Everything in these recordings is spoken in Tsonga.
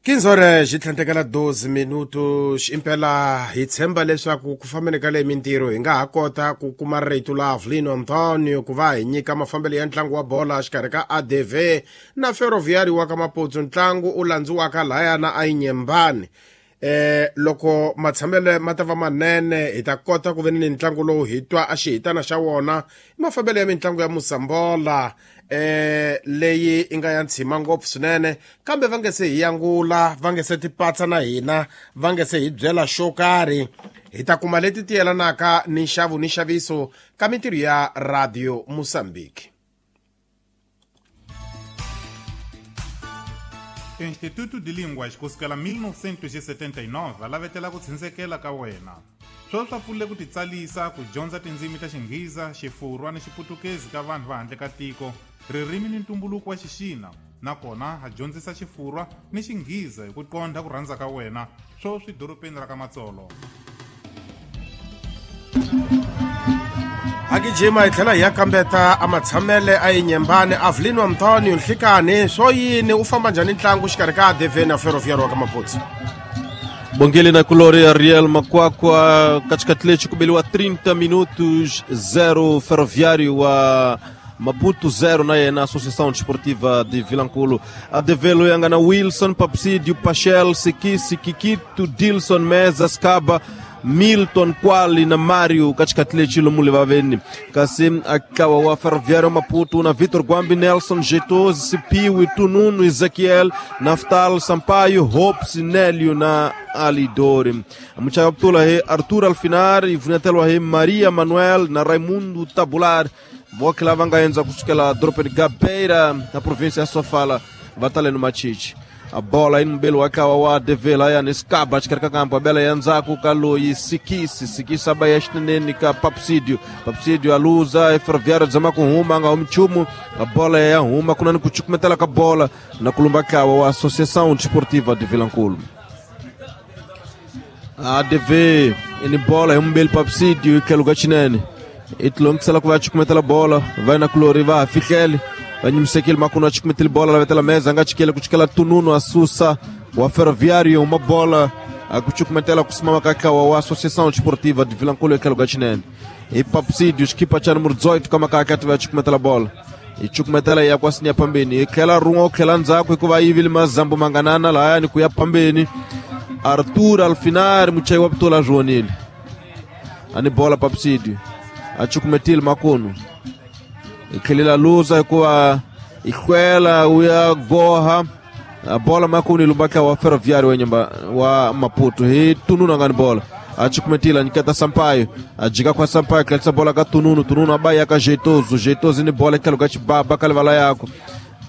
15 horas xitlhandlekela 12 minutos impela hi tshemba leswaku ku fambeni ka leyi mintirho hi nga ha kota ku kuma rito la Avelino Antonio ku va hi nyika mafambelo ya ntlangu wa bola xikarhi ka ADV na Ferroviário wa ka Maputsu. Ntlangu u landziwaka lahaya na Inhambane. Loko matshamelo ma ta va manene hi ta kota ku ve ni ntlangu lowu hi twa a xihitana xa wona i mafambelo ya mitlangu ya Mosambola leyi i nga ya ntshima ngopfu swinene, kambe va nge se hi yangula, va nge se tipatsa na hina, va nge se hi byela xo karhi. Hi ta kuma leti ti yelanaka ni nxavo ni nxaviso ka mintirho ya Radio Mozambique. Instituto de Línguas kusukela 1979 va lavetela ku tshindzekela ka wena. Sweswi swa pfulile ku titsalisa ku dyondza tindzimi ta Xinghiza, Xifurwa ni Xiputukezi ka vanhu va handle ka tiko, ririmi ni ntumbuluko wa Xixina, nakona ha dyondzisa Xifurwa ni Xinghiza hi ku qondha ku rhandza ka wena, sweswi dorobeni ra ka Matsolo. Agijima hi tlhela hi ya kambeta a matshamele a Inhambane. Avelino Antonio, nhlikani swo yini, u famba njhani ntlangu xikarhi ka ADV na Ferroviário wa ka Maputsu? Bongele na Colore Ariel Makwakwa katikati lechi kubeliwa 30 minutos 0 Ferroviário wa Maputo 0 na yena Associação Desportiva de Vilankulo. ADV loyanga na Wilson, Papsídio, Pachel, Sikisi, Kikito, Dilson, Meza, Skaba, Milton Kwali na Mario katikati lechi lomule vaveni. Kasi akawa wa Ferroviário Maputo na Vitor Guambi, Nelson, Jeitoso, Sipiwi, Tununu, Ezequiel, Naftal, Sampaio, Hopes, Nélio na Alidori. Muchayaptula he Arthur Alfinar e Vunetelo he Maria Manuel na Raimundo Tabular. Voke lá vanga enza kusukela dropa de Gabeira na província ya Sofala vatale no Machichi. A bola aí no belo akawa wa ADV lá ya nescaba chikarika kampo a bela yanzaku kaloyi Sikisi Sikisi abaya xinene ka Papsídio Papsídio aluza e Ferroviário zama kuhuma nga umchumu a bola ya huma kunani kuchukumetela ka bola na kulumba kawa wa Associação Desportiva de Vilankulo. ADV ini bola ya umbelo Papsídio ke lugar chinene itlongisela ku va chukumetela bola vai na kulori va fikele vanyimisekile makunu achukumetele bola lavetela meza anga chikele kuchikela Tununu asusa wa Ferroviário uma bola akuchukumetela kusimama kakawa wa Associação Desportiva de Vilankulo ekelo gachinene e Papsídio equipa cha número 18 kama kakati va chukumetela bola ichukumetela ya kwasinya pambeni ikela rungo kela ndzako ikuva yivile mazambo manganana laya ni kuya pambeni Arthur Alfinar muchai wa ptola joanile ani bola Papsídio achukumetile makunu ikhelela luza kuwa ikhwela uya goha a bola makunu ilumbaka wa Ferroviário wenyamba wa Maputo hi Tununu ngani bola achukumetile nikata Sampaio ajika kwa Sampaio kelsa bola ka Tununu Tununu abaya ka Jeitoso Jeitoso ni bola ikaluka chibaba kalevala yako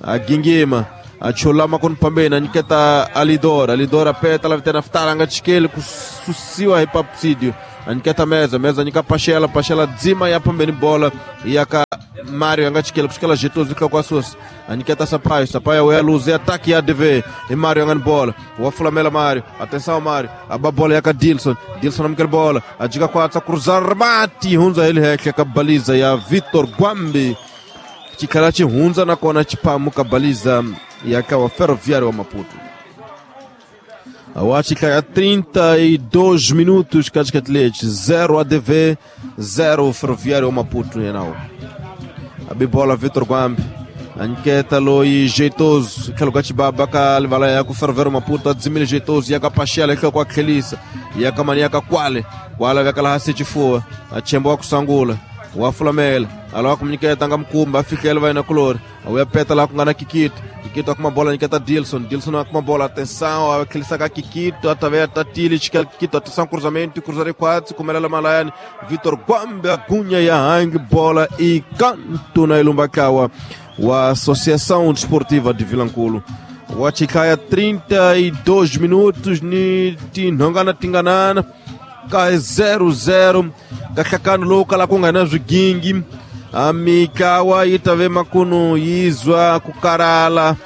agingima achola makunu pambeni nikata Alidora Alidora peta la vitena ftala ngachikele kususiwa hi Papsídio aniketa meza meza nika Pachela Pachela dzima ya pambeni bola yaka Mário angachikele kushikela Jeitoso kwa kwa aniketa Sampaio Sampaio we luz ataque ya ADV e Mário angani bola wafulamela Mário atenção Mário a bola yaka Dilson Dilson amkele bola ajika kwa atsa cruzar remate hunza ele heke kabaliza ya Vitor Guambi chikala chihunza na kona chipamu kabaliza yaka wa Ferroviário wa Maputo. Awachika ya 32 minutos katikati 0 ADV 0 Ferroviário Maputo yenao. Abibola Vitor Guambi anketa loi Jeitoso keluka chibaba ka livala ya ku Ferroviário Maputo adzimile Jeitoso yaka Pachela kwa kwa Kelisa yaka mania ka Kwale Kwale yakala hasi chifua achembo kusangula wafulamela alawa kumniketa nga mkumba afikele vai na color awuya peta lá kungana Kikito Kikito akuma bola niketa Dilson Dilson akuma bola atenção aquele saca Kikito atavea tatili Kikito atenção cruzamento cruzare quatro kumelela malayani Vitor Guambi agunha ya hang bola e canto na Ilumbakawa wa Associação Desportiva de Vilankulo. Wachikaya 32 minutos ni tinhongana tinganana ka 0-0 kakakano loka la kungana zwigingi amikawa itave makunu yizwa kukarala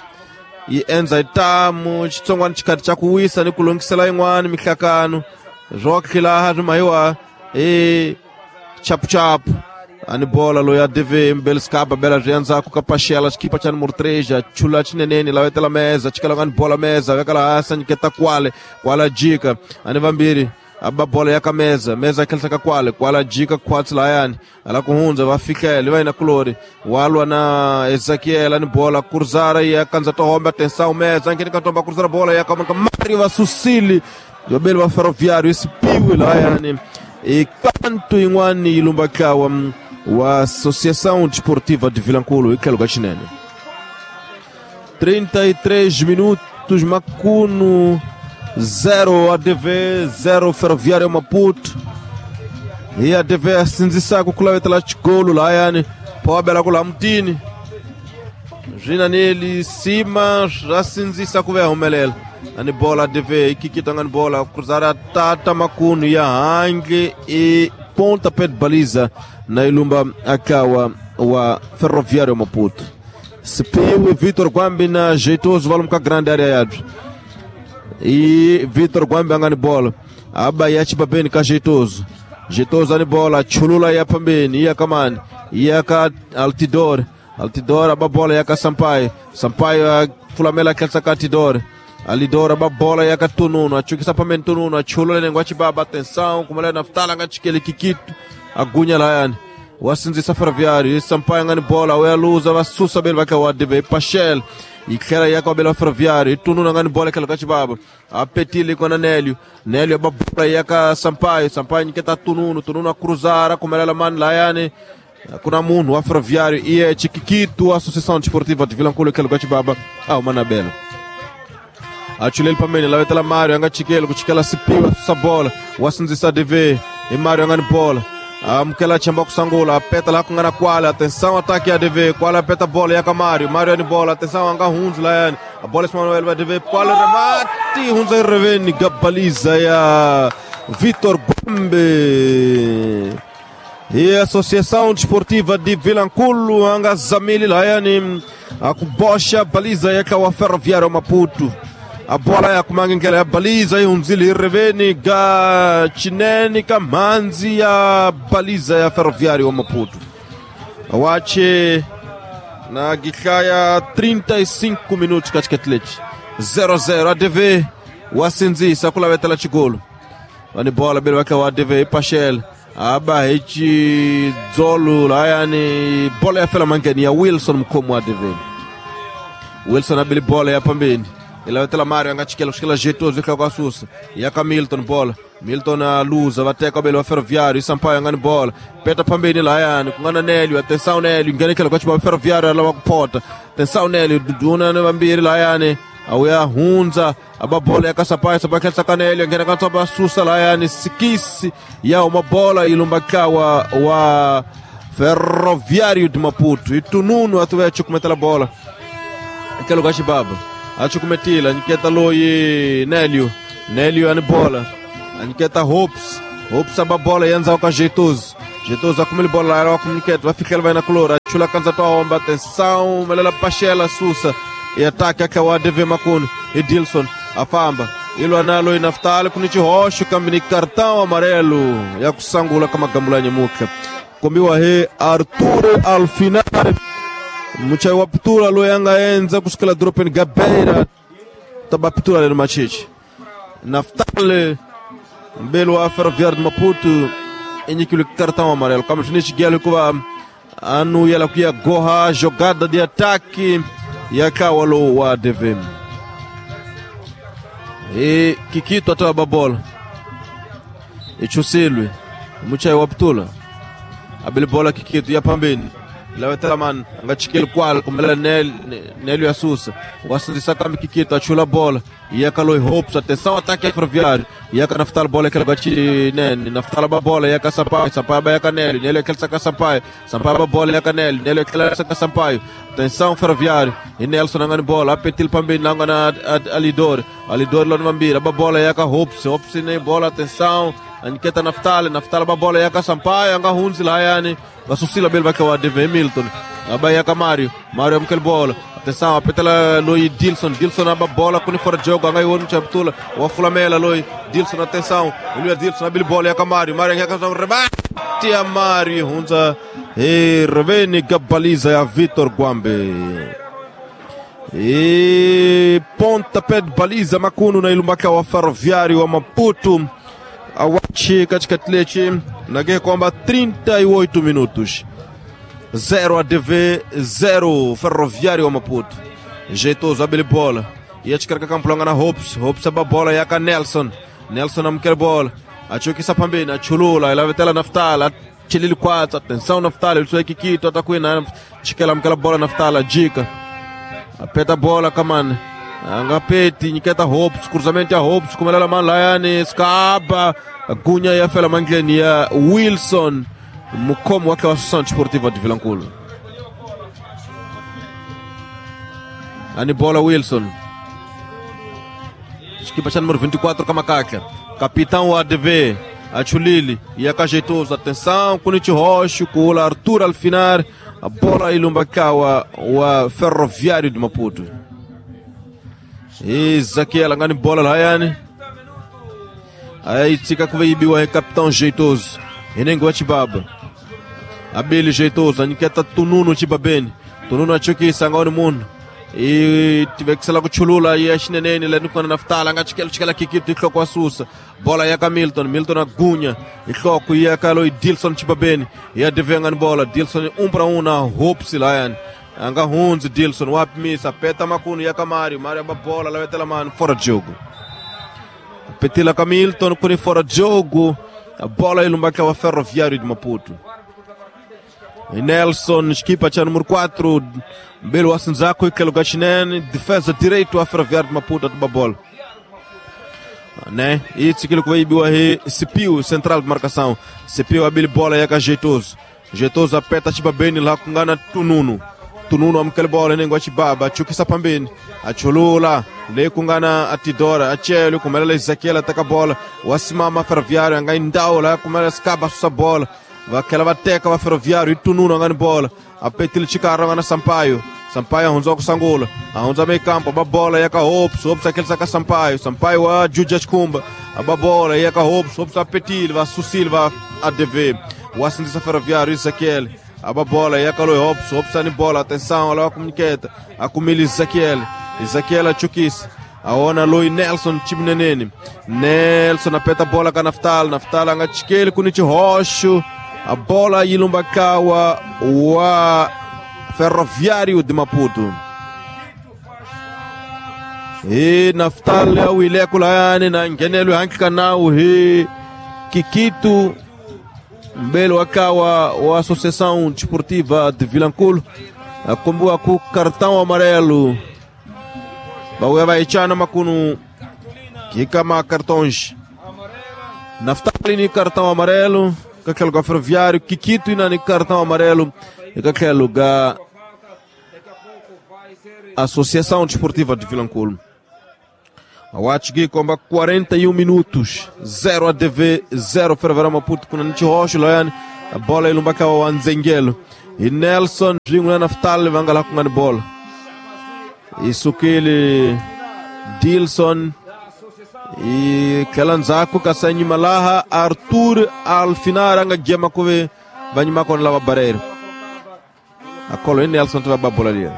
ienza itamu chitsongwana chikati cha kuwisa ni kulongisela yin'wana mihlakano zwokhila ha swimahiwa e chapuchapu Ani bola lo ya DV mbelskaba bela rianza kukapashela xikipa cha número 3 chula chinenene lavetela meza chikala ngani bola meza vekala hansi nyiketa kwale kwala jika ani vambiri aba bola ya kameza meza khelsa ka kwale kwala jika khwatsi layani ala kuhundza va fikele va yina kulori walwa na Ezekiel ani bola kurzara ya kanza tohomba tensão meza ngene katomba kurzara bola ya kama Mario va susili yobeli va Ferroviário isipiwe layani e kanto yin'wani yi lumba kawa wa Associação Desportiva de Vilankulo e tlhelo ka xinene 33 minutos Makuno 0 ADV 0 Ferroviário Maputo e ADV asindzisaka ku lavetela xikolo layani phawabela ku laha mutini swina neli sima swa sindzisa ku va humelela ani bola ADV yi kikita ngani bola cruzara tata Makuno ya handle e pontapé de baliza na ilumba akawa wa Ferroviário Maputo. Sipiwe Vitor Gwambi na jeitoso valumka grande área yadro e Vitor Gwambi angani bola aba yachipa beni ka jeitoso jeitoso ani bola chulula ya pambeni iya kamani iya ka Altidor Altidor aba bola ya ka Sampaio Sampaio fulamela kelsa ka Altidor Alidora ba bola ya katununu achukisa pameni tununu achulula nengo achibaba atenção kumela naftala ngachikele kikito agunya layani wasinzisa Ferroviário Sampaio ngani bola uyaluza vasusa beli vake wa DV Pachel ikhela yaka bela Ferroviário itununu ngani bola khela kachibaba apetile kona Nélio Nélio ba bola yaka Sampaio Sampaio niketa tununu tununu akruzara kumela mani layani kuna munhu wa Ferroviário e é Chiquiquito Associação Desportiva de Vilankulo khela kachibaba ah manabela achuleli pamene lavetela Mário anga chikele kuchikela sipiwa susa bola wasindzisa DV e Mário angani bola amukela chamba kusangula apeta la kungana kwala atenção ataque ya DV kwala apeta bola yaka Mário Mário ani bola atenção anga hunzu layani a bola Manuel va DV kwala remate hunza reveni gabaliza ya Vitor Gombe e Associação Desportiva de Vilankulo anga zamili layani akubosha baliza yaka wa Ferroviário Maputo a bola ya kumangengela ya baliza ihunzile ireveni ga chinene kamanzi ya baliza ya Ferroviário Maputo wache na gihlaya 35 minutos katika leti 0-0 ADV wasinzisa kulavetela chigolo vani bola bele wake wa ADV Pachel aba hechi dzolo layani bola ya fela mangeni ya Wilson mkomo wa ADV Wilson abili bola ya pambeni ilavetela Mário angachikela kushikela jeitoso ikhala kwa susa yaka Milton bola Milton aluza vateka bele wa Ferroviário Sampaio angani bola peta pambeni layani kungana Nélio atenção Nélio ngene khela kwa chiba Ferroviário alava kupota atenção Nélio duduna ne vambiri layani awuya hunza aba bola yaka Sampaio Sampaio khelsa ka Nélio ngene ka tsoba susa layani sikisi ya uma bola ilumba kawa wa Ferroviário de Maputo itununu atuve chukumetela bola khela kwa chibaba achukumetila niketa loyi Nélio Nélio ani bola aniketa Hopes Hopes aba bola yanza ka jeitoso jeitoso akumile bola ela akumniketa vafikela vai na colora chula kanza toomba atenção melela Pachela susa e ataque akawa DV Makuno e Dilson afamba ilo analo inaftali kunichi roxo kambini cartão amarelo ya kusangula kama gambulanye mukha kombiwa he Arturo Alfinare muchai wa pitula loyanga enza kusikela dropen gabeira taba pitula leno machichi naftale mbelo wa Ferroviário de Maputo enyikile cartão amarelo kama chinichi kuva anu yala kuya goha jogada de ataque yakawalo wa DV e Kikito atoa babola echusilwe muchai wa pitula abele bola Kikito ya pambeni lavetela man angachikele kwala kumela Nélio Assusa wasinzisa kambi Kikito achula bola yakaloi Hopes atenção ataque Ferroviário yaka naftala bola aquela gachi nene naftala ba bola yaka Sampaio Sampaio ba yaka Nélio Nélio aquele saca Sampaio Sampaio ba bola yaka Nélio Nélio aquele saca Sampaio atenção Ferroviário e Nelson angani bola apetil pambeni angana Alidor Alidor lon mambira ba bola yaka Hopes Hopes ne bola atenção aniketa naftala naftala ba bola yaka Sampaio anga hunzi layani vasusila bele vake wa DV Milton aba yaka Mário Mário amkel bola atenção apetela loi Dilson Dilson aba bola kuni fora jogo anga iwonu chaptula wa fulamela loi Dilson atenção ele Dilson abili bola yaka Mário Mário yaka remate ya Mário hunza Hi riveni ka baliza ya Vitor Gwambe. E pontapé de baliza makunu na ilumbaka wa Ferroviário wa Maputo awachi katika tlechi nage kwamba 38 minutos 0 ADV 0 Ferroviário wa Maputo. Jeitoso abele bola yachikarika kampulanga na Hopes. Hopes aba bola yaka Nelson. Nelson amkele bola achokisa pambeni achulula ilavetela Naftala chilili kwatsa. Atenção Naftala iliswa kikito atakwina chikela mkela bola Naftala jika apeta bola kamane angapeti nyiketa Hopes cruzamento ya Hopes kumelela malayani skaba gunya ya fela mangleni ya Wilson mukhomo wake wa Associação Desportiva de Vilankulo. Ani bola Wilson equipa cha número 24 kama kakla capitão wa ADV achulili yakajeitoso. Atenção Kunichi Rocha kula Arthur Alfinar a bola ilumbakawa wa Ferroviário de Maputo. Ezequiel angani bola layani aí tika kuveibiwa é capitão jeitoso enengo chibaba abele jeitoso aniketa tununo chibabeni tununo achokisa ngoni muno e tive que se lá chulula e a chinenene le nukana Naftala ngachikela chikela kikito ihloko asusa bola ya Milton. Milton agunya ihloko ya Kalo Dilson chibabeni ya devenga ni bola Dilson 1-1 na Hopes Lion anga hunzi Dilson wapimisa peta makunu ya Mario. Mario aba bola la vetela man fora jogo petila ka Milton kuni fora jogo a bola ilumbaka wa Ferroviário de Maputo. Nelson equipa cha número 4 Belo Asinzako ikelo gachinene defesa direito a Ferroviário de Maputo atuba bola né e tsikilo kuibiwa he Sipiu central de marcação Sipiu abili bola yaka jeitoso. Jeitoso apeta chibabeni la kungana Tununo. Tununo amkele bola nengo chibaba chukisa pambeni achulula le kungana atidora achelo kumelela Ezequiel ataka bola wasimama Ferroviário anga indaula kumela skaba susa bola vakela vateka va Ferroviário e Tununo angani bola apetile chikara ngana Sampaio. Sampaio ahunza kusangula ahunza meio campo aba bola yaka Hopes. Hopes aquele saca Sampaio. Sampaio a Juja Chikumba aba bola yaka Hopes. Hopes apetile va Susil va ADV wasindisa Ferroviário Ezequiel aba bola yaka Loi Hopes. Hopes ani bola atenção ala comuniqueta akumili Ezequiel. Ezequiel achukisa aona Loi Nelson chibinenene Nelson apeta bola ka Naftala. Naftala angachikele kunichi Rocho a bola ilumbakawa wa Ferroviário de Maputo. E Naftala awile kulayani na ngenelo hanki nao he Kikito mbele wakawa wa Associação Desportiva de Vilankulo akombua ku cartão amarelo bauya vaichana makunu kikama cartões Naftali ni cartão amarelo kakelo ga Ferroviário Kikito ina ni cartão amarelo e kakelo ga Associação Desportiva de Vilankulo. Awachigi komba 41 minutos 0 ADV 0 Ferroviário Maputo kuna Nichi Rocha loyani a bola ilumbaka wa Nzengelo e Nelson jingula Naftali vangala kungani bola isukile Dilson e kelanzako kasanyi malaha Arthur Alfinar anga gema kuve vanyima kon lava barreira akolo e Nelson tava bola ali.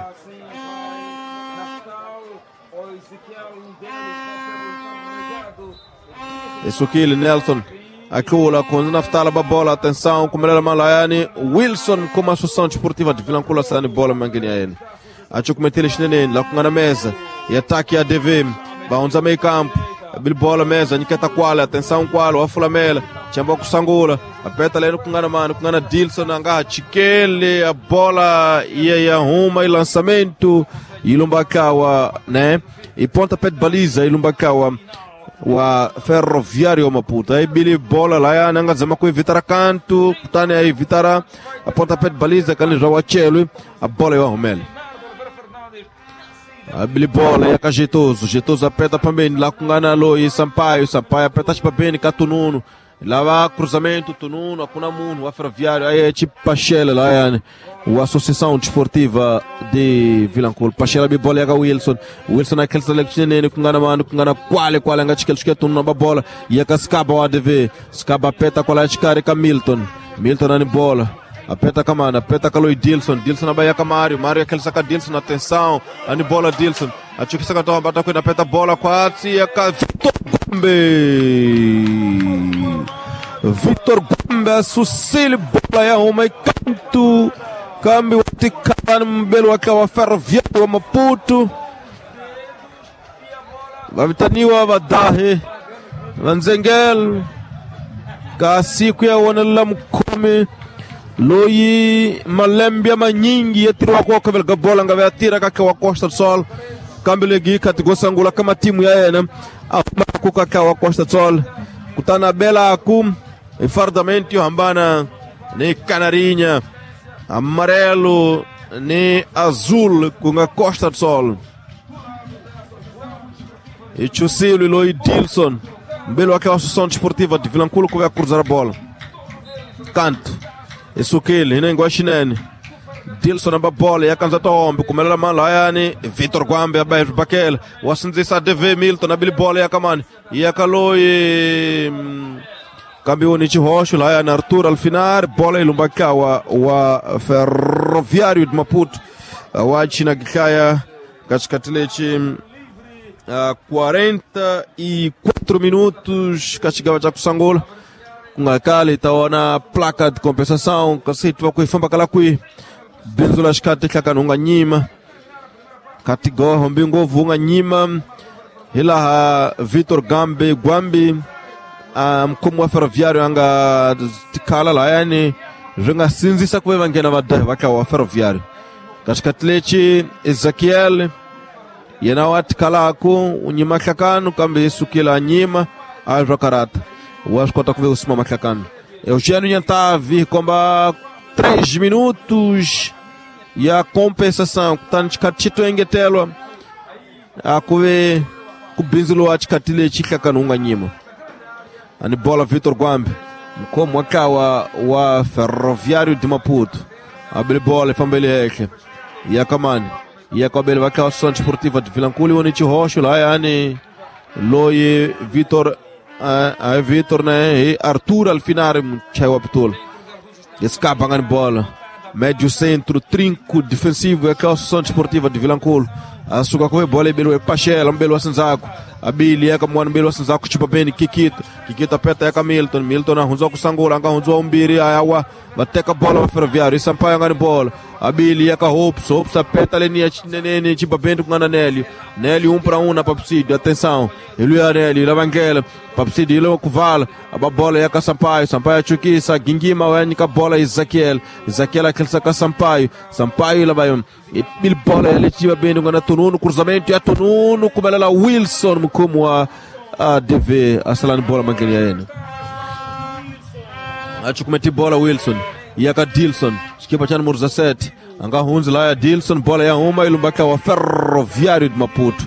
Isukile Nelson akula com Naftala bola atenção kumelela malayani Wilson com a Associação Desportiva de Vilankulo sani bola mangeni aene achukumetele chinenene la kungana mesa e ataque ADV baunza meio campo bola mesa niketa kwala atenção kwala wafulamela chamba kusangula apeta leno kungana mano kungana Dilson anga chikele a bola ia ya ruma e lançamento ilumbakawa né e pontapé de baliza ilumbakawa wa Ferroviário Maputo. Aí bili bola lá nanga zama ku evitara canto kutane aí evitara a pontapé de baliza kani rawa chelo a bola ya rumele a bili bola ya Jeitoso. Jeitoso aperta pambeni lá kungana Loi Sampaio. Sampaio aperta pambeni Katununo lá va cruzamento Tununo akuna muno wa Ferroviário aí é tipo Pachela lá yani o Associação Desportiva de Vilankulo. Pachela bibola ya Wilson. Wilson aquele selection kungana mano kungana kwale kwale anga chikele chikele Tununo ba bola ya Kaskaba wa ADV Skaba peta kwa la chikare ka Milton. Milton ani bola Apeta kamana, apeta kaloi Dilson, Dilson abaya ka Mário, Mário aquele saca Dilson, atenção, ani bola Dilson, acho que saca toma bata kwenda apeta bola kwa tia ka Vitor Gombe. Vitor Gombe asusili bola ya uma e canto. Kambi watikana mbele wake wa Ferroviário wa Maputo. Vavitaniwa vadahe vanzengel ka siku ya wona mkumi loyi malembe manyingi yatiriwa kwa kavelga bola nga yatira kaka wa Costa do Sol kambi legi katigosangula kama timu ya yena amaku kaka wa Costa do Sol kutana bela aku fardamento hambana ni Canarinha amarelo ni azul com a Costa do Sol. E Chusilo e Loi Dilson mbele wake wa Associação Desportiva de Vilankulo que vai cruzar a bola. Canto. Esukile inengwa chinene. Dilson amba bola yakanza tombe kumelela mala yani Vitor Gwambe abaye bakela wasinzisa DV Milton abili bola yakamani yakaloi kambioni chihosho la yani Arthur Alfinar bola ilumbaka wa Ferroviário de Maputo wa China Gikaya katikati lechi 44 minutos kachigawa cha kusangola kungakali taona placa de compensação kasitwa kuifamba kala kui benzula xikati hlakanhunga nyima katigoho mbingovu unga nyima hilaha Vitor Gambe Gwambi mkhomi wa Ferroviário anga tikhala lahayani swi nga sindzisa ku ve va nghena vadahi va tlawa wa Ferroviário katikati lechi Ezekiel yena wa tikhalaku u nyima hlakano kambe yi sukile a nyima a swa karata wa swi kota ku ve u sima mahlakano Eugênio Nhantavi komba 3 minutos ya compensação kutani xikati xi to engetelwa a ku ve ku bindzuriwa xikati lexi hlakano wu nga nyima ani bola Vitor Gwambe mkhomi wa ntlawa wa Ferroviário de Maputo abile bola ifambele henhla ya kamani ya kwabele va ntlawa Associação Desportiva de Vilankulo woni xihoxo lahayani loyi Vitor Vitor né e Arthur Alfinari muchayi wa pitula escapa ngani bola médio centro trinco defensivo ya ntlawa Associação Desportiva de Vilankulo asuka kuve bola ibeliwe Pachela mbele wa Sinzaku abili yaka mwana mbele wa Sinzaku chipa beni Kikito Kikito apeta yaka Milton Milton ahunzwa kusangula anga hunzwa umbiri ayawa vateka bola va Ferroviário Sampaio ngani bola abili yaka Hopes Hopes apeta leni ya chinenene chipa beni kungana Nélio Nélio 1 para 1 na Papsídio atenção iluya Nélio lavangela Papsídio ilo kuvala aba bola yaka Sampaio Sampaio achukisa gingima wanyika bola Ezekiel Ezekiel akilisa ka Sampaio Sampaio labayo bil bola yale chipa beni kungana Tununu cruzamento ya Tununu kumelela Wilson mkhomi wa ADV asalani bola mangeni ya yena achukumeti bola Wilson yaka Dilson xikipa cha numero 17 anga hunzi laya Dilson bola ya huma ilumbaka wa Ferroviário de Maputo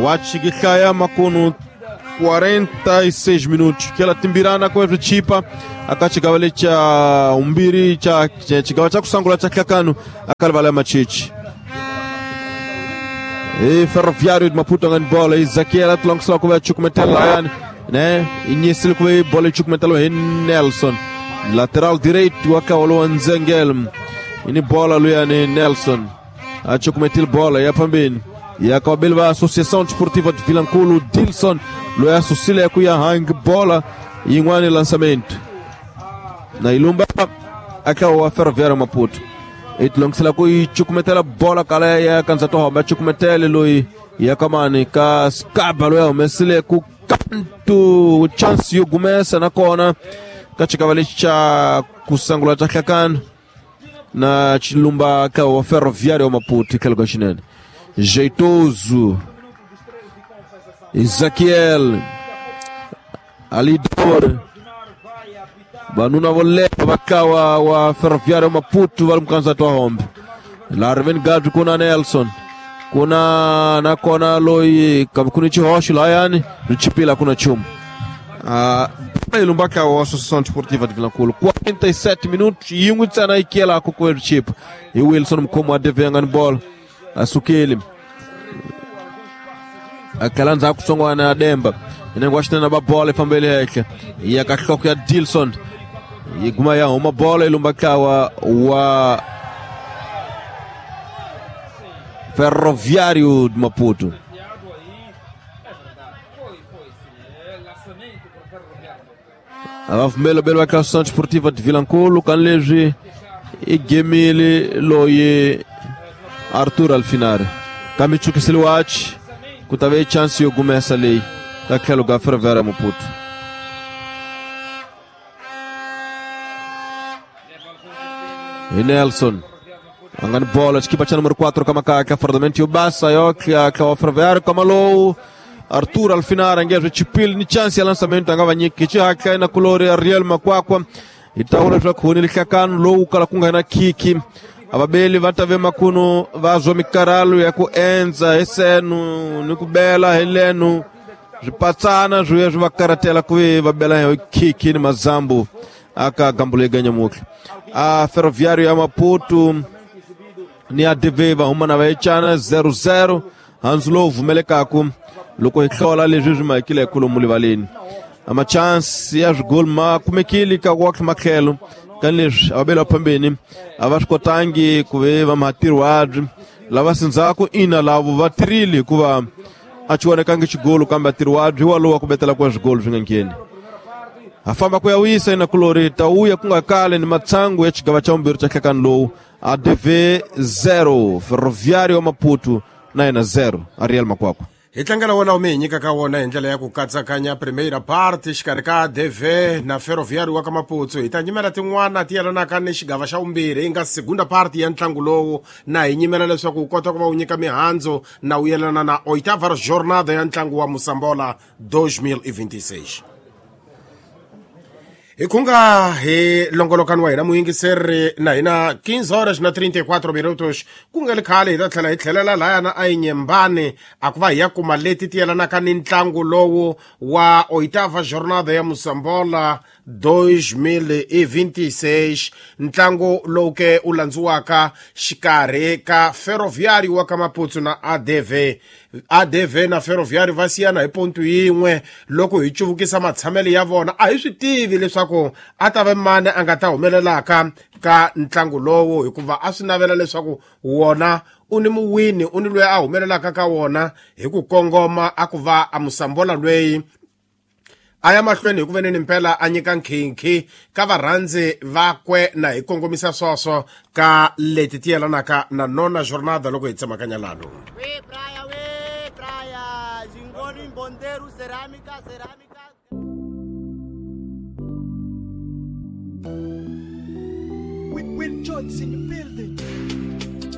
wachikihlaya makunu 46 minutos kela timbirana kwa chipa akachigawa lecha umbiri cha chigawa cha kusangula cha hlakano akalivala machichi e Ferroviário de Maputo ngani bola Ezekiel atulongisela kuva chukumetela yani né inyisile kuve bola chukumetela hi Nelson lateral direito wakawalo Nzengel ini bola luyani Nelson achukumetile bola ya pambeni yakawabeli va Associação Desportiva de Vilankulo Dilson loyi asusile ku ya hang bola yin'wani lançamento na ilumba akawa Ferroviário Maputo itilongisela ku yi cukumetela bola kala ya kanza to homa cukumetele loyi ya kamani ka skaba loyi a humesile ku kantu chance yo gumesa nakona ka xikava lexi xa kusangula xa hlakano na chilumba ka wa Ferroviário Maputo tlhelo ka xinene Jeitoso Ezequiel Alidor vanuna vo leha va kawa wa Ferroviário Maputo va ri mukandzati wa hombe laha riveni gadu ku na Nelson kuna nakona loyi kambe ku ni xihoxo lahayani ri chipila ku na nchumu ilumba kawa wa Associação Desportiva de Vilankulo 47 minutos yin'we ntsena yi kiyelaka ku ri chipa hi Wilson mukhomi wa DV nga ni bola asukile akhala ndzhaku tsongwana ya Demba inenge wa xinene va bola yi fambele henhla ya ka nhloko ya Dilson Yi guma ya huma bola yi lumba ntlawa wa Ferroviário de Maputo. A va pfumela belo va Associação Desportiva de Vilanculo kanileswi i gemile loyi Arthur Alfinari kambe chukisile wachi ku ta ve chance yo gumesa leyi ka tlhelo ka Ferroviário Maputo. Hi Nelson a nga ni bola xikipa xa número 4 ka makaka fardamento yo basa yo tlha wa Ferroviário kama lowu Arthur Alfinara ngezwe chipili ni chance ya lançamento a nga va nyiki xihatla na kulori Ariel Makwakwa hi ta vona leswaku huni lihlakano lowu kala ku nga na khikhi a vabeli va ta ve makuno va zwa mikarhalo ya ku endza hi senu ni ku bela hi lenu swipatsana swi ya swi va karatela ku ve va bela hi khikhi ni mazambu aka gambulo yeganyamutlha a Ferroviário ya Maputo ni ADV va huma na va yecana 0-0 hansi lowu pfumelekaku loko hi hlola leswi swi mahekile hi kolomu livaleni a machansi ya swigoli ma kumekile ka wakhe matlhelo ka leswi a va bela phambeni a va swi kotangi ku ve va matirhiwabyi lava sindzhaku ina lavo va tirhile hikuva a xi vonekangi xigolo kambe atirhiwabyi walowa ku betela ku swigolo swi nga ngheni. Ha famba ku ya wisa ina kulori ta wuya ku nga kale ni matsangu ya xigava xa vumbirhi xa nhlekani lowu ADV 0 Ferroviário Maputo na yena 0 Ariel Makwakwa. Hi tlangela wona wu mi hi nyikaka wona hi ndlela ya ku katsakanya primeira parte xikarhi ka ADV na Ferroviário wa ka Maputo. Hi ta nyimela tin'wana ti yelanaka ni xigava xa vumbirhi yi nga segunda parte ya ntlangu lowu na hi nyimela leswaku wu kota ku va wu nyika mihandzu na wu yelana na oitava jornada ya ntlangu wa Mosambola 2026. Hi khunga hi longolokani wa hina muyingiseri na hina 15 horas na 34 minutos ku nga ri khale hi ta tlhela hi tlhelela lahayana a Inhambane a ku va hi ya kuma leti ti yelanaka ni ntlangu lowu wa oitava jornada ya Mosambola 2026 ntlangu lowu ke u landziwaka xikarhi ka Ferroviário wa ka Maputo na ADV. ADV na Ferroviário va siyana hi pontu yin'we loko hi cuvukisa matshamelo ya vona a hi swi tivi leswaku a ta va mani a nga ta humelelaka ka ntlangu lowu hikuva a swi navela leswaku wona u ni muwini u ni loyi a humelelaka ka wona hi ku kongoma a ku va a Mosambola lweyi a ya mahlweni hi ku veneni mpela a nyika nkhinkhi ka varhandzi vakwe na hi kongomisa swoswo ka leti ti yelanaka na nona jornada loko hi tsemakanya lano. We praia, Jingoni, Mbonderu, Cerâmica, Cerâmica. With Johnson in the building.